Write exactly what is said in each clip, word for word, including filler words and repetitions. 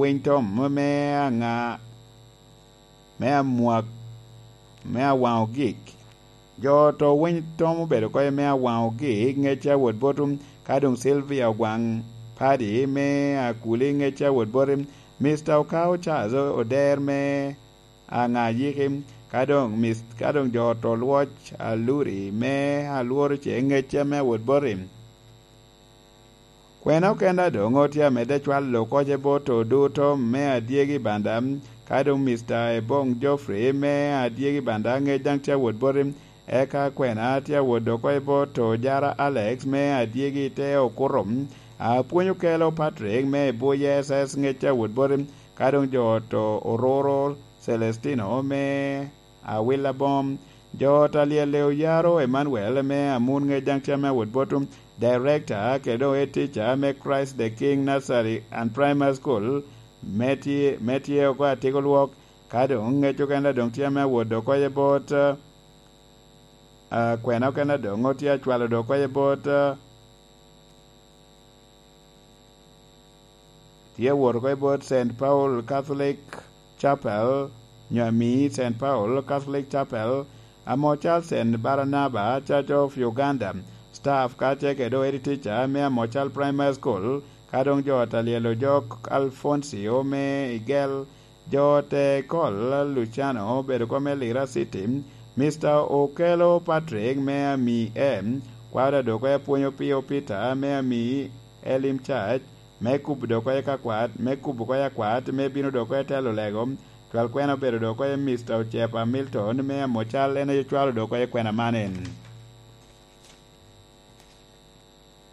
Winy tom me aŋa, me amwak, me awaŋ ogik. Jo oto winy tom obedo oko me awaŋ ogik, ŋec a wot bot, ka doŋ Sylvia Ogwaŋ Padi me Akuli, ŋec a wot bot, Mister Okao Charles Oder me aŋa yiki, ka doŋ Mis-, ka doŋ jo oto Lwoc Aluri me Alworo ce ŋec a me wot bot. Kwena okene doŋ otye amedde cwalo koc i bot oduto me adyegi banda, ka doŋ Mister Ebong Geoffrey me adyegi banda ŋec daŋ tye awot boti, eka kwena tye awot oko i bot Ojara Alex me adyegi te okuto, apwony okelo Patrick me Ibuye S S ŋec tye awot boti, ka doŋ jo oto Ororo Celestino me Awila Bom. Jo ot alyel Oyaro Emmanuel me Amun ŋec daŋ tye ame awot bot, director kede doŋ head teacher me Christ the King Nursery and Primary School me tye, me tye oko Atiko Lwok, ka doŋ ŋec okene doŋ tye ame awot oko i bot, ah, kwena okene doŋ otye acwalo doŋ oko i bot, ah, tye awot oko i bot Saint Paul Catholic Chapel, nyo ami Saint Paul Catholic Chapel, amo cal Saint Barnaba Church of Uganda, staff kacel kede head teacher me amo cal Primary School, ka doŋ jo ot alyel Ojok Alfoncio me Igel, jo ote Kol Luciano obedo oko me Lira City, Mister Okelo Patrick me ami M, kwaro adoko apwonyo Pio Peter me ami Elim Church, me kubo dok oko i kakwat, me kubo oko i akwat, me bino dok oko i telo lego. Cwal kwena obedo dok oko i Mister Ocepa Milton me Amocal, en aye cwalo dok oko i kwena man en.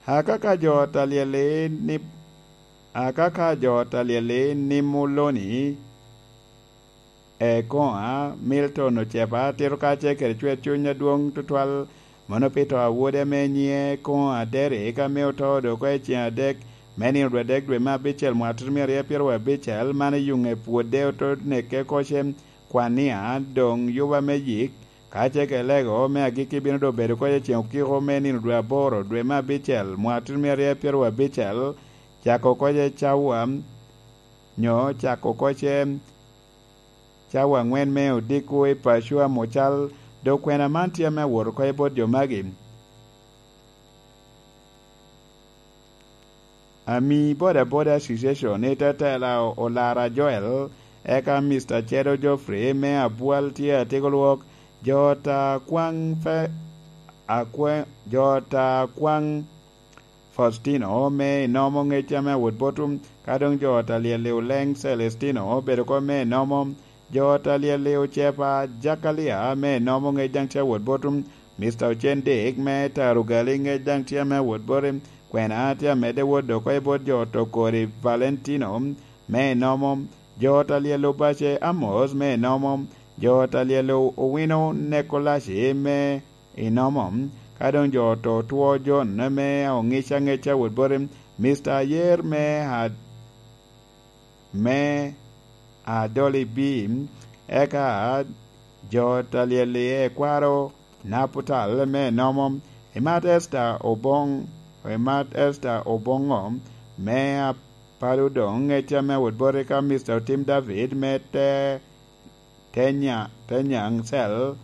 Akaka jo ot alyel-li ni, akaka jo ot alyel-li ni Muloni, Ekoŋa Milton Ocepa tito kacel kede cwer cuny adwoŋ tutwal, mano pi to a wode ame nyiŋe Ekoŋa Derrick, ame oto dok oko i ceŋ adek me nino dwe adek dwe me abicel mwaka tutumia aryo pyeraryo abicel, man i yuŋe pwodde oto neke koce kwania, doŋ yuba me yik, kacel kede lego me agikki bino doŋ bedo koce ceŋ okiko me nino dwe aboro dwe me abicel mwaka tutumia aryo pyeraryo abicel, cako koce cawa, nyo cako koce cawa aŋwen me odiko i paco Amocal, dok kwena man tye ame awot oko i bot jo magi. Ami Boda Boda Association i tetela Olara Joel, eka Mister Cedo Geoffrey me Abwal tye atiko lwok, jo ta kwaŋ fe, akwe, jo ta kwaŋ Faustino me Inomo ŋec ame awot botum, ka doŋ jo ot alyel i Oleŋ Celestino obedo oko me Inomo, jo ot alyel i Ocepa Jakalia me Inomo ŋec daŋ tye awot botum, Mister Ocen Dick me Tarugali ŋec daŋ tye ame awot boti, kwena tye amedde wot dok oko i bot jo ot Okori Valentino me Inomo, jo ot alyel Obace Amos me Inomo, jo ot alyel Owino Nekolaci me Inomo, ka doŋ jo oto two John me Oŋic Aŋeca wot boti, Mister Ayer me a-, me Adoli B, eka jo ot alyel i Ekwaro Naputal me Inomo, Imat Esther Oboŋ, Imat Esther Oboŋo me Apaludoŋ Ŋeca me wot boti, ka Mister Otim David me te Tenya, Tenyaŋ Cel.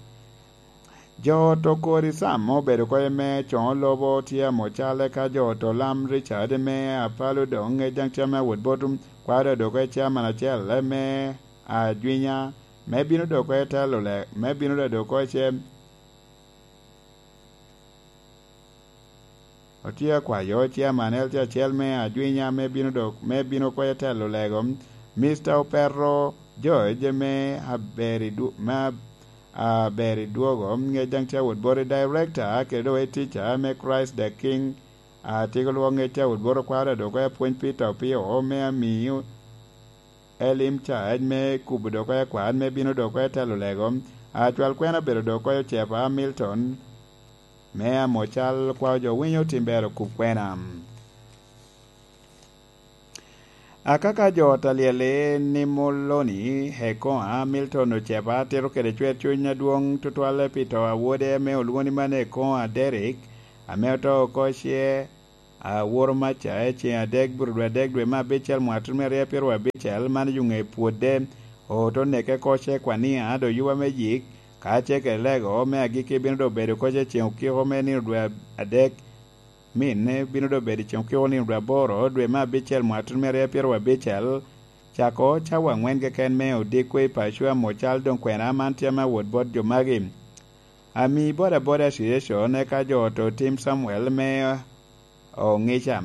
Jo ot Okori Sam obedo oko i me Coŋo Lobo tye Amocal, eka jo ot Olam Richard me Apalo doŋ ŋec daŋ tye ame awot bot kwaro dok oko i Chairman acel me Ajwinya, me bino dok oko i telo le-, me bino dok oko i ce-, Otye akwayo Chairman L C acel me Ajwinya me bino dok, me bino oko i telo lego, Mister Opero George me Aberi Dwo-, me Ab-, Aberi Dwogo, ŋec daŋ tye awot boti Director, kede doŋ Head Teacher me Christ the King, atiko lwok ŋec tye awot boti okwaro dok oko i apwony Peter Opio me Amiyo, Elim Church me kubo dok oko i akwat me bino dok oko i telo lego, acwal kwena obedo dok oko i Ocepa Milton, me Amocal, kwao jo winyo tim ber okub kwena. Akaka jo ot alyel-li ni Muloni, Hekoa, Milton Ocepa, tito kede cwer cuny adwoŋ tutwalle pi to a wode ame olwoŋo ni Mano Hekoa Derrick, ame oto oko ce Aworo maca i ceŋ adek, burudwa adek, dwe me abicel, mwaka tut me aryo apiro abicel, man i ŋe pwodde, oto neke oko ce kwania, do yuba me yik, ka ce kede lego me agikki bino do bedo oko ce ceŋ okiko me nino dwe adek, minne bino do bedo i ceŋ okiko nino dwe aboro, dwe me abicel, mwaka tut me aryo apiro abicel, cako cawa aŋwen keken me odiko i paco amo cal. Doŋ kwena man tye ame awot bot jo magi. Ami bodaboda association eka jo oto Tim Samuel me Oŋica,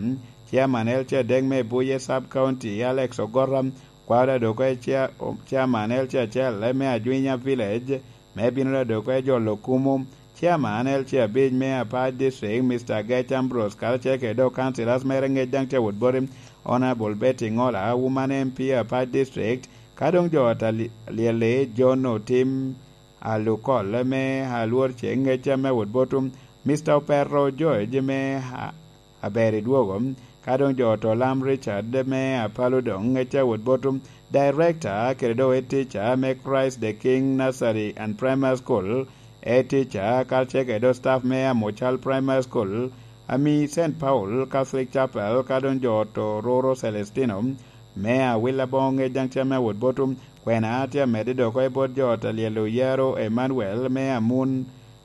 Chairman L C adek me Buye Sub County, Alex Ogora, kwaro adoko e Chair-, Chairman L C acel me Ajwinya Village, me bino adoko e jolo kumo, Chairman L C abic me Apac District, Mister Gec Ambrose, karacel kede dok councillors mere ŋec daŋ tye awot boti, Honorable Betty Ngola, Woman M P Apac District, ka doŋ jo ata li-, lyel-li, John Otim, Alukol me Alwor Ceŋ, ŋec ame awot botum, Mister Opero George me A-, Aber i Dwogo, ka doŋ jo oto Lam Richard me Apalo doŋ, ŋec awot botum, Director kede doŋ Head Teacher me Christ the King Nursery and Primary School, Head Teacher, karacel kede doŋ staff me Amocal Primary School, ami Saint Paul Catholic Chapel, ka doŋ jo oto Roro Celestino me Awila Boŋo, ŋec daŋ tye ame awot botum, kwena tye amedde dok oko i bot jo oto Alyel Oyaro Emmanuel me Amun,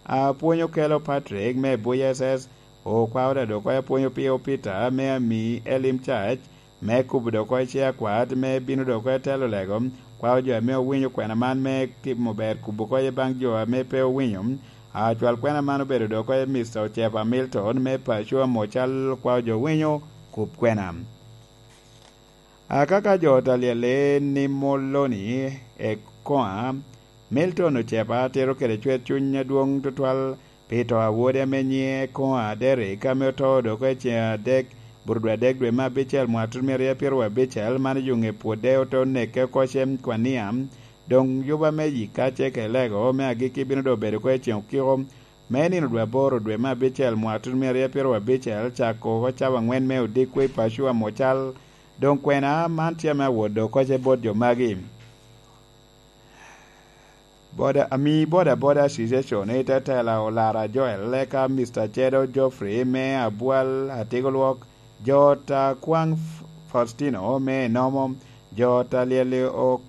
Apwony Okelo Patrick me Buya S S, Okwao Dadok, Apwony Opio Peter me Ami Elim Church, me kubo dok oko i Chair Kwat, me bino dok oko i telo lego, kwao jo ame owinyo kwena man me timo ber kubo oko i baŋ jo ame pe owinyo. Acwal kwena man obedo dok oko i Mister Ocepa Milton me paco Amocal, kwao jo winyo kub kwena. Akaka jo ta lyelle ni Moloni Ekoŋa, Milton Ocepa tito kede cwer cuny adwoŋ tutwal pi to a wode ame nyiŋe Ekoŋa Derrick, ame oto dok i ceŋ adek, burudwa adek dwe me abicel, mwaka tut mia aryo pyeraryo abicel, man i yo ŋe pwodde oto neke oko cem kwania. Doŋ yuba me yika ce kede lego me agikki bino doŋ bedo oko i ceŋ okiko me nino dwe aboro dwe me abicel, mwaka tut mia aryo pyeraryo abicel, cako oko cawa aŋwen me odiko i paco Amocal. Doŋ kwena man tye ame awot dok oko ce bot jo magi. Boda, ami boda boda association i te tela Olara Joel, eka Mister Cedo Geoffrey me Abwal Atigo Lwok, jo ta Kwaŋ F-, Faustino me Enomo, jo ta Lyeli O-,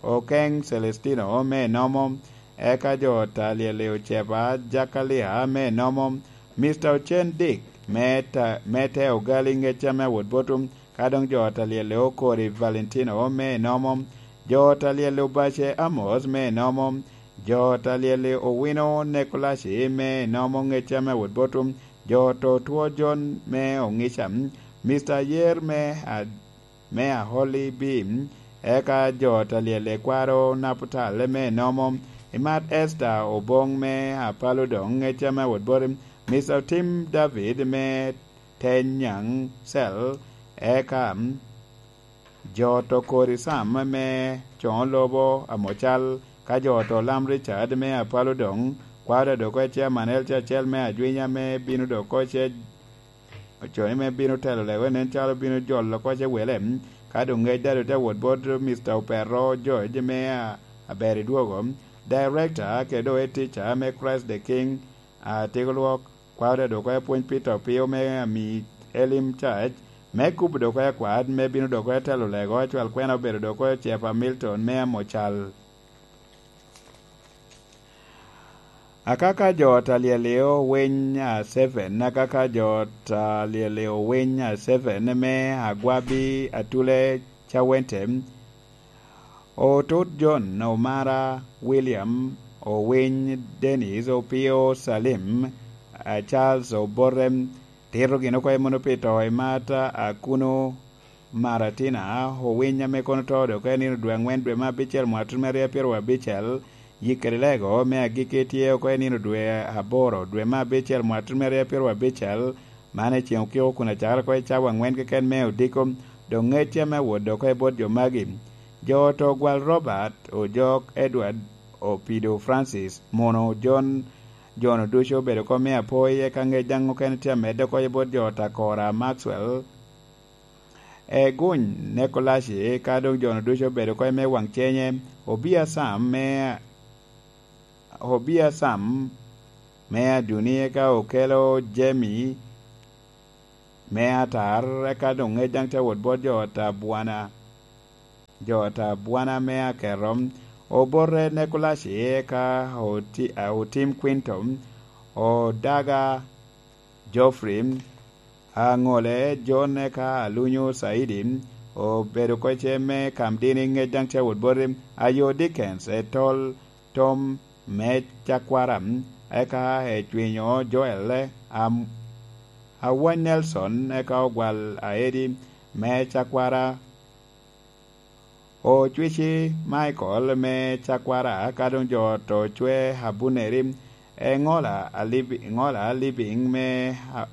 Okeŋ Celestino me Enomo, eka jo ta Lyeli Ocepa Jakalia me Enomo, Mister Ocen Dick me ta-, me te Ogali ŋecca me awot botum, ka doŋ jo ta Lyeli Okori Valentino me Enomo, jo ta Lyeli Obace Amos me Enomo, jo ta Lyeli Owino Nekolaci me Enomo ŋecca me awot botum, jo to Two John me Oŋica, Mister Ayer me a-, me Aholi Bim, eka jo ta Lyeli Kwaro Naputal me Enomo, imat Esther Oboŋ me Apalo doŋ ŋecca me awot botum, Mister Otim David me Tenyaŋ Cell, eka jo to Kori Sam me Coŋo Lobo Amocal, ka jo to Lam Richard me Apalo doŋ, kwaro dok oko i Chairman L C acel me Ajwinya me bino dok oko ce, oconi me bino telo lego nen calo bino jolo oko ce wele, ka doŋ ŋec dado te wot bot Mister Opero George me a-, Aber i Dwogo, Director kede doŋ Head Teacher me Christ the King, Atigo Lwok, kwaro dok oko i Apwony Peter Opio me Ami Elim Church, me kubo dok oko i akwat, me bino dok oko i telo lego, acwal kwena obedo dok oko i Cepa Milton me Amocal. Akaka jo ta Lyeli Owiny a Seven, akaka jo ta Lyeli Owiny a Seven me Agwabi Atule Cawente, Otut John Omara William, Owiny Dennis, Opio Salim, a Charles Obote, tito gin oko i mono pi to i Marta Akuno Maratina, Owiny ame kono to dok i nino dwe aŋwen dwe me abicel mwaka tut me aryo pyeraryo abicel, yik kede lego me agikki tye oko i nino dwe aboro dwe me abicel mwaka tut me aryo pyeraryo abicel, man i ceŋ okiko kun acakere oko i cawa aŋwen keken me odiko, doŋ ŋecce ame awot dok oko i bot jo magi. Jo oto Gwal Robert, Ojok Edward, Opido Francis, Mono John, jo-nu ducu obedo oko me apoyi, eka ŋec daŋ okene tye amedde oko i bot jo oto Akora Maxwell, Eguny Nekolaci, ka doŋ jo-nu ducu obedo oko i me waŋ cenye, Obia Sam me, Obia Sam me Aduni, eka Okelo Jemi, me atar, eka doŋ ŋec daŋ te wot bot jo ot abwana, jo ot abwana me aketo, obote Nekulaci, eka oti-, otim Kwinto, odaga Geoffrey, aŋole John, eka alunyo Caidi, obedo kocce me Kamdini, ŋec daŋ te wot boti, ayo Dickens, etol Tom me Cakwara, eka ecwinyo Joel, am-, awany Nelson, eka ogwal Aedi me Cakwara, ocwici Michael me Cakwara, ka doŋ jo ot ocwe Abuneri, eŋola alibi-, eŋola Libing me a-,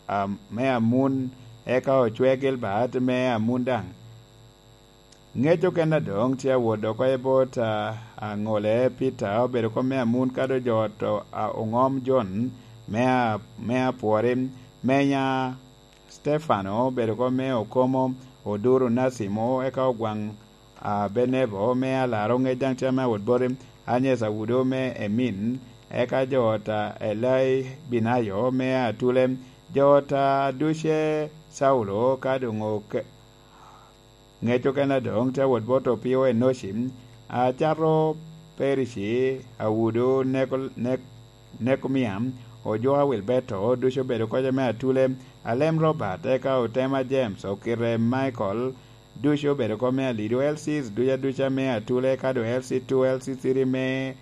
a-, me Amun, eka ocwe Gilbert me Amun daŋ. Ŋec okene adoŋ tye awot oko i bot, a, aŋole Peter, obedo kop me Amun, ka doŋ jo ot o-, a, oŋom John me a-, me Apwori, menya Stefano obedo kop me Okomo, Oduro Nasimo, eka Ogwaŋ, a, Benebo me Alaro, ŋec daŋ tye ame awot boti, Anyes Awudo me Emin, eka jo ot a Elai Binayo me Atule, jo ot a Duce Saulo, ka doŋ oke-, ŋec okene adoŋ tye awot bot Opio Enoci, acato Perici, Awudo Neko-, Nek-, Nekomia, Ojuka Wilberto, ducu obedo kocca me Atule, Alem Robert, eka Otema James, Okite Michael, ducu obedo kop me Alido, L Cs duca duca me Atule, ka doŋ L C two, L C three me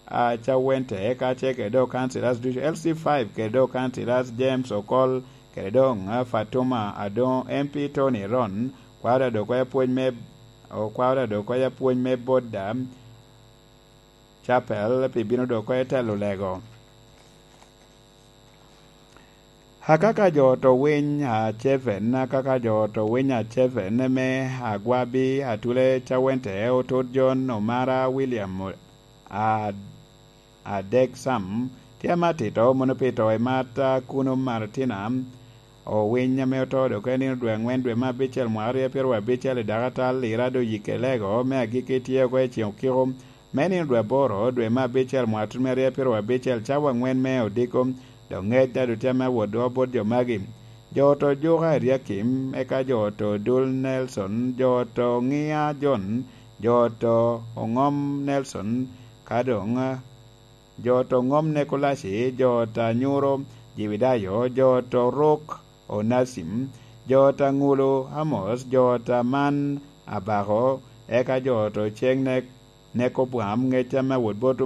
a, Cawente, eka ce kede doŋ councillors ducu, L C five kede doŋ councillors James Okol, kede doŋ, a, Fatuma Adoŋo, M P Tony Ron, kwaro dok oya pwony me, okwaro dok oya pwony me Boda Chapel pi bino dok oya telo lego. Akaka jo to winy a Ceven, akaka jo to winy a Ceven me Agwabi, Atule Cawente, Otot John, Omara William, a, Adek Sam, tye ame atito, mono pito i mat, a, kuno Martina, owiny ame oto dok en nino dwe angwen dwe me abicel mwaka aryo pyeraryo abicel i dakatal i Rado Yike Lego me agikki tye oko i Ceng Okiko, me nino dwe aboro, dwe me abicel, mwaka tut me aryo pyeraryo abicel, cawa angwen me odiko, dok ŋec daŋ tye ame awot dwoko bot jo magi. Jo oto Juka Eriakim, eka jo oto Dul Nelson, jo oto Ŋia John, jo oto Oŋom Nelson, ka doŋ, jo oto Oŋom Nekolaci, jo oto Anyuro Jibidayo, jo oto Rok Onacim, jo oto Aŋulu Amos, jo oto Aman Abako, eka jo oto Ceng Nek-, Nekobwam, ŋec ame awot bot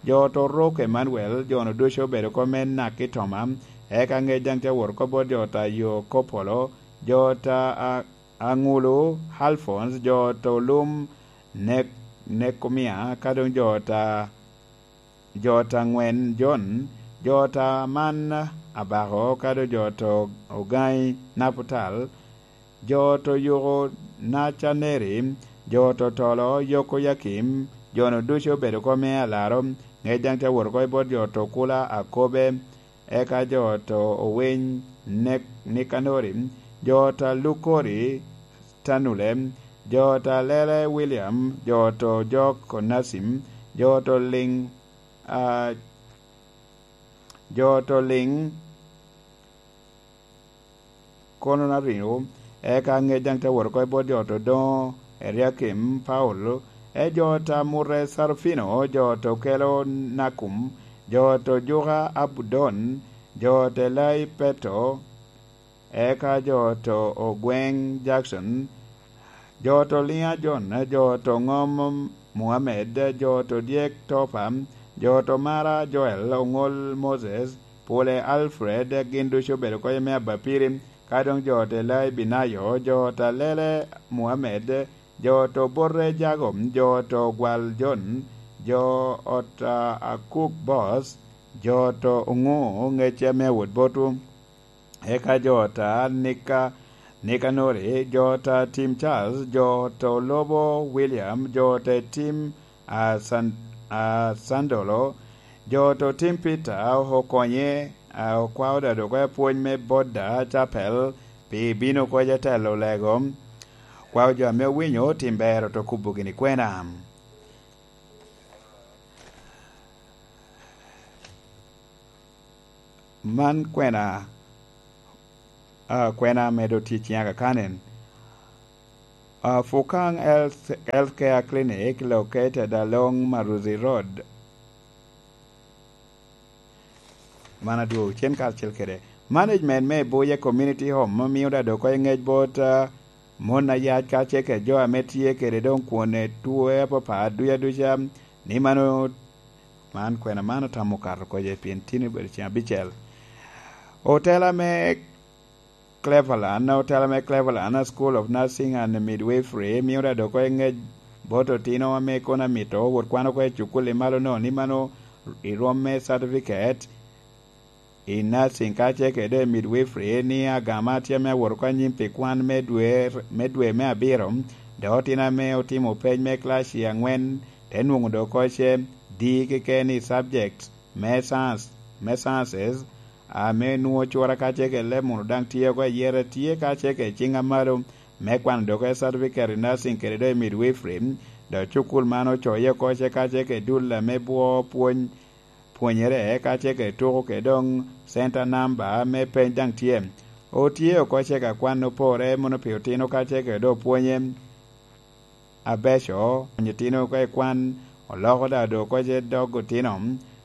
jo oto Rok Emanuel, jo-nu ducu obedo kop me Nak i Toma, eka ŋec daŋ te wot oko bot jo oto Ayo Kopolo, jo oto A-, Aŋulu Alphonse, jo oto Lum Nek-, Nekomia, ka doŋ jo oto, jo oto Aŋwen John, jo oto Aman Abako, ka doŋ jo oto Ogaŋi Naputal, jo oto Yuko Nacaneri, jo oto Tolo Yokoyakim, jo-nu ducu obedo kop me Alaro, ŋec daŋ te wot oko i bot jo oto Kula Akobe, eka jo oto Owiny Nek-, Nikanori, jo oto Alukori Tanule, jo oto Alele William, jo oto Jok Onacim, jo oto Liŋ, a, jo oto Liŋ, kono na riŋo, eka ŋec daŋ te wot oko i bot jo oto Doŋo Eriakim Paulo, e jo oto Amute Sarufino, jo oto Kelo Nakum, jo oto Juka Abudon, jo oto Elai Peto, eka jo oto Ogweŋ Jackson, jo oto Liŋa John, jo oto Ŋom Muhammed, jo oto Dyek Topa, jo oto Mara Joel, Oŋol Moses, Pule Alfred, gin ducu obedo kop me Abapiri, ka doŋ jo oto Elai Binayo, jo oto Alele Muhammed, jo oto Bote Jago, jo oto Gwal John, jo oto Akuk Boss, jo oto Oŋu ŋec ame awot botwu. Eka jo ot a Nika-, Nikanori, jo ot a Tim Charles, jo ot a Olobo William, jo ot a Tim a San-, a Sandolo, jo ot a Tim Peter, okonye, a okwao dado oko apwony me Boda Chapel, pi bino kwoc atelo lego. Kwao jo ame owinyo tim ber oto kubo gini kwena. Man kwena Ah, kwena medo tye ciŋa kakanen. Ah, Fukaŋ Health, Healthcare Clinic located along Maruzi Road. Man adwogo cen karacel kede management me Buye Community Home, mio da dok oko i ŋec bot, ah, mon ayac kacel kede jo ame tye kede doŋ kwone tuo apapat duca duca, ni mano, man kwena man otamo kato kocce pien tin obedo ceng abicel. Otela me Cleveland, otela me Cleveland School of Nursing and Midwifery mio da dok oko i ŋec bot otino ame kono amito wot kwano oko i cukul i malo no, ni mano i rwom me certificate i nursing kacel kede i midwifery, ni agama tye ame awot oko anyim pi kwan me dwe, me dwe me abiro, dok otino ame otimo pec me class i angwen, te nwoŋo dok oko ce D keken i subject me science, me sciences, ame nwoŋo cura kacel kede leb munu daŋ tye oko ayere tye kacel kede ciŋ amalo me kwano dok oko certificate i nursing kede doŋ i midwifery, dok cukul man ocoye oko ce kacel kede dul ame bwo pwony, pwonyere kacel kede tuko kede doŋ center number me peny daŋ tye. Otye oko ce ka kwan opore mono pi otino kacel kede doŋ pwonye abeco, onyo otino oko i kwan, oloko da dok oko ce dog otino.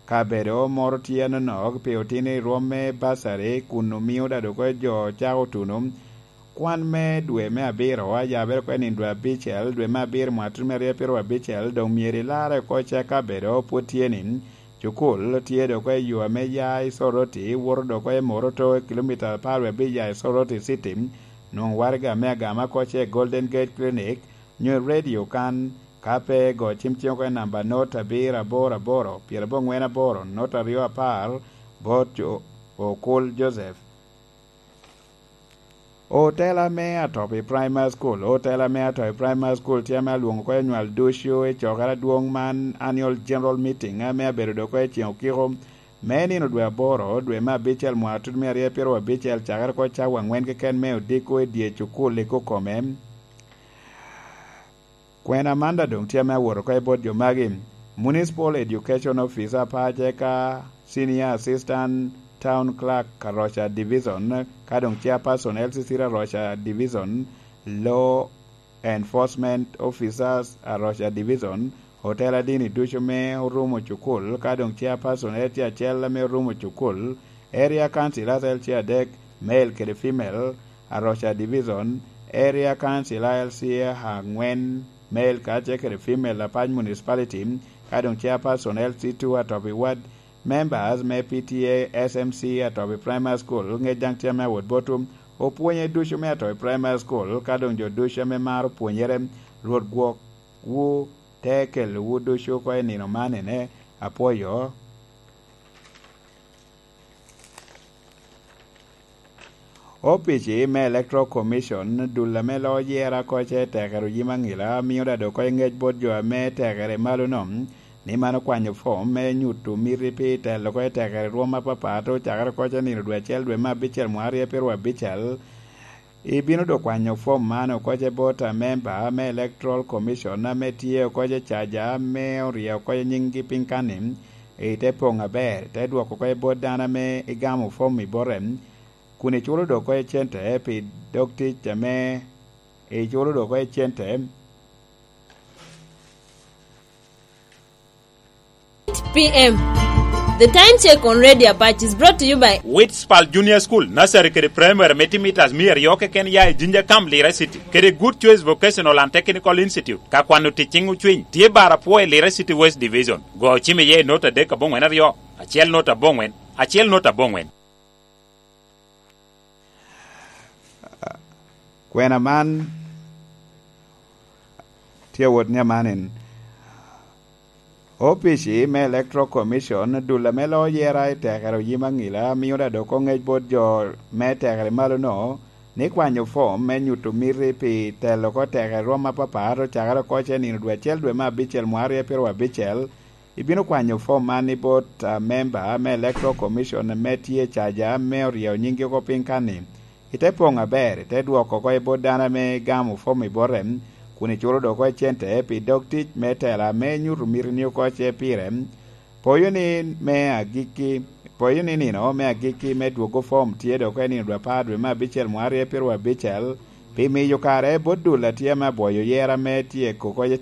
Kabedo moro tye anonok pi otino i rwom me basari, kun omio da dok oko jo cako tuno. Kwan me dwe me abiro ayabere oko i nino dwe abicel, dwe me abiro mwaka tutumia aryo pyeraryo abicel, doŋ myero ilarre oko ce kabedo pwod tye ni, cukul tye dok oko i yo ame ya i Soroti, woto dok oko i Moroto, kilomita apar wie abic ya i Soroti City, nwoŋo waraga me agama oko ce i Golden Gate Clinic, nyo i radio kan, ka pe go cim cing oko i namba not abiro aboro aboro, pyerabongwen aboro, not aryo apar, bot Jo-, Okul Joseph. Otela me Atopi Primary School. Otela me Atopi Primary School tye ame alwoŋo oko i nywal ducu i cokere adwoŋ man, Annual General Meeting, ame abedo dok oko i ceŋ okiko me nino dwe aboro, dwe me abicel, mwaka tutumia aryo pyeraryo abicel, cakere oko cawa angwen keken me odiko i dye cukul i Kukome. Kwena man da doŋ tye ame awot oko i bot jo magi: Municipal Education Officer, pace ka Senior Assistant Town Clerk, Aroca Division, ka doŋ Chairperson L C C Aroca Division, Law Enforcement Officers, Aroca Division, otela dini ducu me orumo cukul, ka doŋ Chairperson L C acel ame orumo cukul, Area Council L C adek, male kede female, Aroca Division, Area Council L C angwen, male kacel kede female, Apac Municipality, ka doŋ Chairperson L C two Atopi Ward, members me P T A S M C Atopi Primary School, ŋec daŋ tye ame awot botwu, opwonye ducu me Atopi Primary School, ka doŋ jo ducu ame maro pwonyere, Rwot gwokwu, te kelowu ducu oko i nino man ene, apwoyo. Opici me Electoral Commission, dul ame loo yera oko ce tekere oyim aŋila, mio da dok oko i ŋec bot jo ame tekere malo no, ni man okwanyo fom me nyuto miti pi telo oko i tekere rwom apapat, ocakere oko ce nino dwe acel dwe me abicel mwaka aryo pyeraryo abicel. Ibino dok kwanyo fom man oko ce bot amemba me Electoral Commission ame tye oko ce caja ame orye oko ce nyiŋgi piny kanni, ite poŋ aber, ite dwoko oko ce bot dano ame igamo fom i bote, kun iculo dok oko ce cente pi dog tic ame iculo dok oko ce cente. P M. The time check on Radio Apache is brought to you by Witspal Junior School, Nursery kede Primary me timitas mia aryo keken ya i Jinja Camp, Lira City, kede Good Choice Vocational and Technical Institute, ka kwano tic ciŋ ocwiny, tye bar apwo i Lira City West Division. Go cim iye i nota adek aboŋwen aryo, acel nota aboŋwen, acel nota aboŋwen. Kwena man tye awot ni amanen. Opici me Electoral Commission, dul ame loo yera i tekere oyim aŋila, mio da dok oŋec bot jo me tekere malo-no ni kwanyo fom me nyuto miti pi telo oko tekere rwom apapat ocakere oko ce nino dwe acel dwe me abicel mwaka aryo pyeraryo abicel, Ibino kwanyo fom man i bot amemba me Electoral Commission ame tye i caja ame oryeyo nyinggi oko piny kanni. Ite poŋ aber, ite dwoko oko i bot dano ame igamo fom i bote, kun iculo dok oko i cente pi dog tic me tela ame inyuto mitini oko ce pire. Poyo ni me agikki, Pwoyo ni nino me agikki me dwogo fom tye dok i nino dwe apar dwe me abicel mwarye pirwa abicel, pi miyo kare bot dul a tye ame abwoyo yera me tyeko kocce.